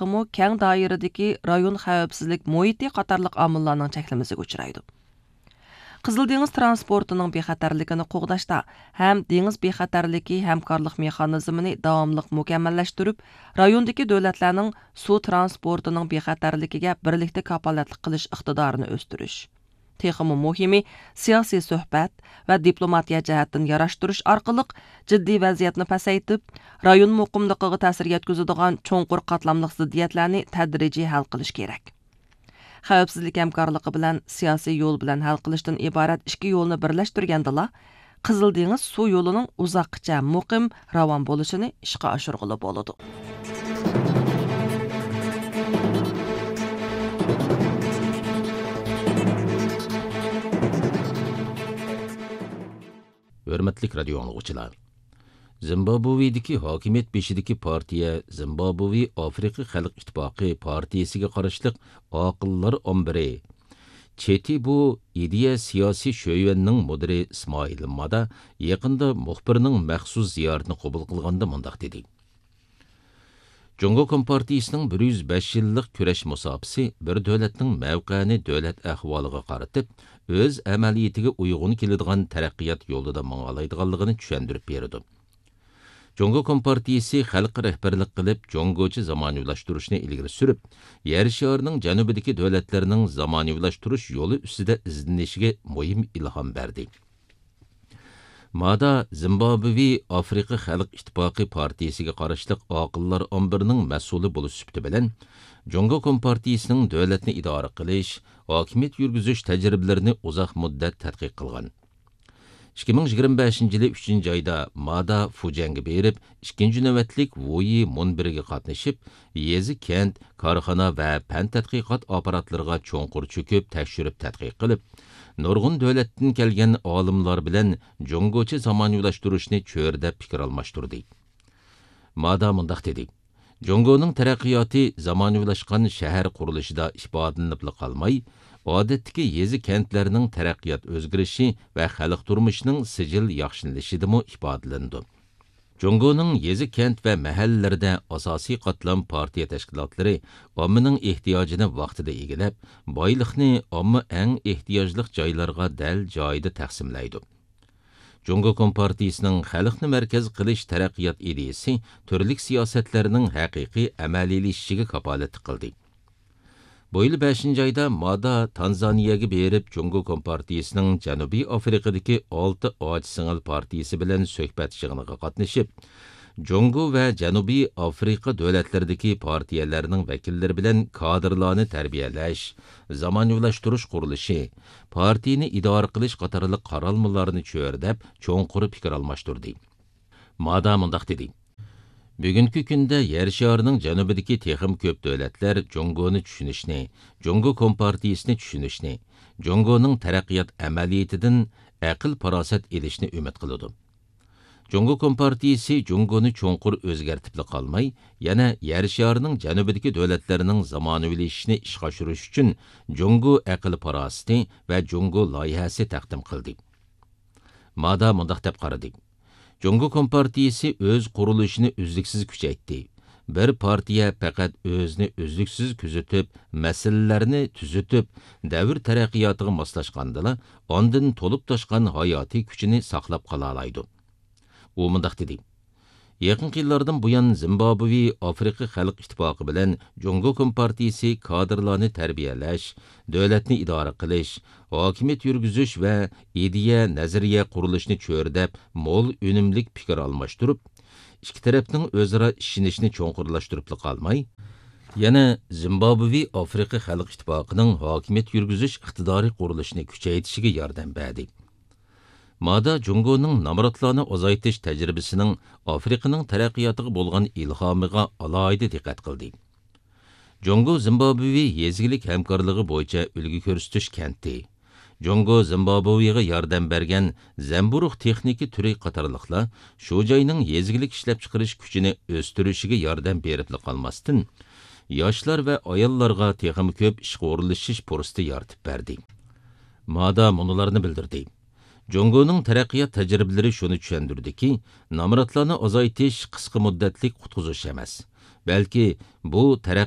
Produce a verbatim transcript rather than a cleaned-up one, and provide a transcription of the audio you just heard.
ھەققىمۇ كەڭ دائىرىدىكى رايون خەۋپسىزلىك مۇھىتى قاتارلىق ئامىللارنىڭ چەكلىمىسىگە ئۇچرايدۇ. قىزىل دېڭىز تىرانسپورتىنىڭ بىخەتەرلىكىنى قوغداشتا ھەم دېڭىز بىخەتەرلىكى ھەمكارلىق مېخانىزمىنى داۋاملىق مۇكەممەللەشتۈرۈپ، رايوندىكى دۆلەتلەرنىڭ سۇ تىرانسپورتىنىڭ بىخەتەرلىكىگە بىرلىكتە كاپالەتلىك قىلىش ئىقتىدارىنى ئۆستۈرۈش، تېخىمۇ مۇھىمى، سىياسىي سۆھبەت ۋە دىپلوماتىيە جەھەتتىن ياراشتۇرۇش ئارقىلىق جىددىي ۋەزىيەتنى پەسەيتىپ، رايون مۇقىملىقىغا تەسىر يەتكۈزىدىغان چوڭقۇر قاتلاملىق زىددىيەتلەرنى تەدرىجىي ھەل قىلىش كېرەك. خەۋپسىزلىك ھەمكارلىقى بىلەن سىياسىي يول بىلەن ھەل قىلىشتىن ئىبارەت ئىككى يولنى بىرلەشتۈرگەندىلا، قىزىل دېڭىز سۇ يولىنىڭ ئۇزاققىچە مۇقىم، راۋان بولۇشىنى ئىشقا ئاشۇرغىلى بولىدۇ. ھۆرمەتلىك رادىيو ئاڭلىغۇچىلار! زىمبابۋېدىكى ھاكىمىيەت بېشىدىكى پارتىيە زىمبابۋې ئافرىقا خەلق ئىتتىپاقى پارتىيىسىگە قاراشلىق ئاقىللار ئامبىرى چېتى بۇ ئىدىيە سىياسىي شۆيۈەننىڭ مۇدىرى ئىسمائىل مادا يېقىندا مۇخبىرنىڭ مەخسۇس زىيارىتىنى قوبۇل قىلغاندا مۇنداق دېدى: جۇڭگو كومپارتىيىسىنىڭ بىر يۈز بەش يىللىق كۈرەش مۇساپىسى بىر دۆلەتنىڭ مەۋقەنى دۆلەت ئەھۋالىغا قارىتىپ، ئۆز ئەمەلىيىتىگە ئۇيغۇن كېلىدىغان تەرەققىيات يولىدا ماڭالايدىغانلىقىنى چۈشەندۈرۈپ بېرىدۇ. جۇڭگو كومپارتىيىسى خەلققە رەھبەرلىك قىلىپ، جۇڭگوچە زامانىۋىلاشتۇرۇشنى ئىلگىرى سۈرۈپ، يەر شارىنىڭ جەنۇبىدىكى دۆلەتلەرنىڭ زامانىۋىلاشتۇرۇش يولى ئۈستىدە ئىزدىنىشىگە مۇھىم ئىلھام بەردى. مادا زىمبابۋې ئافرىقا خەلق ئىتتىپاقى پارتىيىسىگە قاراشلىق ئاقىللار ئامبىرىنىڭ مەسئۇلى بولۇش سۈپىتى بىلەن، جۇڭگو كومپارتىيىسىنىڭ دۆلەتنى ئىدارە قىلىش، ھاكىمىيەت يۈرگۈزۈش تەجرىبىلىرىنى ئۇزاق مۇددەت تەتقىق قىلغان. ئىككى مىڭ يىگىرمە بەشىنچى يىلى ئۈچىنچى ئايدا مادا فۇجيەنگە بېرىپ، ئىككىنچى نۆۋەتلىك ۋۇيى مۇنبىرىگە قاتنىشىپ، يېزا، كەنت، كارخانا ۋە پەن تەتقىقات ئاپپاراتلىرىغا چوڭقۇر چۆكۈپ، تەكشۈرۈپ تەتقىق قىلىپ، نۇرغۇن دۆلەتتىن كەلگەن ئالىملار بىلەن جۇڭگوچە زامانىۋىلاشتۇرۇشنى چۆرىدەپ پىكىر ئالماشتۇردى. مادا مۇنداق دېدى: جۇڭگونىڭ تەرەققىياتى زامانىۋىلاشقان شەھەر قۇرۇلۇشىدا ئىپادىلىنىپلا قالماي، ئادەتتىكى يېزا، كەنتلەرنىڭ تەرەققىيات ئۆزگىرىشى ۋە خەلق تۇرمۇشىنىڭ سىجىل ياخشىلىنىشىدىمۇ ئىپادىلىنىدۇ. جۇڭگونىڭ يېزا، كەنت ۋە مەھەللىلىرىدە ئاساسىي قاتلام پارتىيە تەشكىلاتلىرى ئاممىنىڭ ئېھتىياجىنى ۋاقتىدا ئىگىلەپ، بايلىقنى ئامما ئەڭ ئېھتىياجلىق جايلارغا دەل جايىدا تەقسىملەيدۇ. جۇڭگو كومپارتىيىسىنىڭ خەلقنى مەركەز قىلىش تەرەققىيات ئىدىيىسى تۈرلۈك سىياسەتلەرنىڭ ھەقىقىي ئەمەلىيلىشىشىگە كاپالەتلىك قىلدى. بۇ يىل بەشىنچى ئايدا مادا تانزانىيەگە بېرىپ، جۇڭگو كومپارتىيىسىنىڭ جەنۇبىي ئافرىقىدىكى ئالتە ئاچا سىڭىل پارتىيىسى بىلەن سۆھبەت يىغىنىغا قاتنىشىپ، جۇڭگو ۋە جەنۇبىي ئافرىقا دۆلەتلىرىدىكى پارتىيەلەرنىڭ ۋەكىللىرى بىلەن كادىرلارنى تەربىيەلەش، زامانىۋىلاشتۇرۇش قۇرۇلۇشى، پارتىيىنى ئىدارە قىلىش قاتارلىق قارالمىلارنى چۆرىدەپ، چوڭقۇر پىكىر ئالماشتۇردى. مادا مۇنداق دېدى: بۈگۈنكى كۈندە يەر شارىنىڭ جەنۇبىدىكى تېخىمۇ كۆپ دۆلەتلەر جۇڭگونى چۈشىنىشنى، جۇڭگو كومپارتىيىسىنى چۈشىنىشنى، جۇڭگونىڭ تەرەققىيات ئەمەلىيىتىدىن ئەقىل-پاراسەت ئېلىشنى ئۈمىد قىلىدۇ. جۇڭگو كومپارتىيىسى جۇڭگونى چوڭقۇر ئۆزگەرتىپلا قالماي، يەنە يەر شارىنىڭ جەنۇبىدىكى دۆلەتلىرىنىڭ زامانىۋىلىشىشىنى ئىشقا ئاشۇرۇش ئۈچۈن جۇڭگو ئەقىل-پاراسىتى ۋە جۇڭگو لايىھەسى تەقدىم قىلدى. مادا مۇنداق دەپ قارىدى: جۇڭگو كومپارتىيىسى ئۆز قۇرۇلۇشىنى ئۈزلۈكسىز كۈچەيتتى. بىر پارتىيە پەقەت ئۆزىنى ئۈزلۈكسىز كۆزىتىپ، مەسىلىلەرنى تۈزىتىپ، دەۋر تەرەققىياتىغا ماسلاشقاندىلا، ئاندىن تولۇپ تاشقان ھاياتىي كۈچىنى ساقلاپ قالالايدۇ. ئۇ مۇنداق دېدى: يېقىنقى يىللاردىن بۇيان، زىمبابۋې ئافرىقا خەلق ئىتتىپاقى بىلەن جۇڭگو كومپارتىيىسى كادىرلارنى تەربىيەلەش، دۆلەتنى ئىدارە قىلىش، ھاكىمىيەت يۈرگۈزۈش ۋە ئىدىيە، نەزەرىيە قۇرۇلۇشىنى چۆرىدەپ، مول ئۈنۈملۈك پىكىر ئالماشتۇرۇپ، ئىككى تەرەپنىڭ ئۆزئارا ئىشىنىشىنى چوڭقۇرلاشتۇرۇپلا قالماي، يەنە زىمبابۋې ئافرىقا خەلق ئىتتىپاقىنىڭ ھاكىمىيەت يۈرگۈزۈش ئىقتىدارى قۇرۇلۇشىنى كۈچەيتىشىگە ياردەم بەردى. مادا جۇڭگونىڭ نامراتلارنى ئازايتىش تەجرىبىسىنىڭ ئافرىقىنىڭ تەرەققىياتىغا بولغان ئىلھامىغا ئالاھىدە دىققەت قىلدى. جۇڭگو زىمبابۋې يېزا ئىگىلىك ھەمكارلىقى بويىچە ئۈلگە كۆرسىتىش كەنتى، جۇڭگو زىمبابۋېغا ياردەم بەرگەن زەمبۇرۇغ تېخنىكا تۈرى قاتارلىقلار شۇ جاينىڭ يېزا ئىگىلىك ئىشلەپچىقىرىش كۈچىنى ئۆستۈرۈشىگە ياردەم بېرىپلا قالماستىن، ياشلار ۋە ئاياللارغا تېخىمۇ كۆپ ئىشقا ئورۇنلىشىش پۇرسىتى يارىتىپ بەردى. مادا مۇنۇلارنى بىلدۈردى: جۇڭگونىڭ تەرەققىيات تەجرىبىلىرى شۇنى چۈشەندۈردىكى، نامراتلارنى ئازايتىش قىسقا مۇددەتلىك قۇتقۇزۇش ئەمەس، بەلكى بۇ تەرەققىي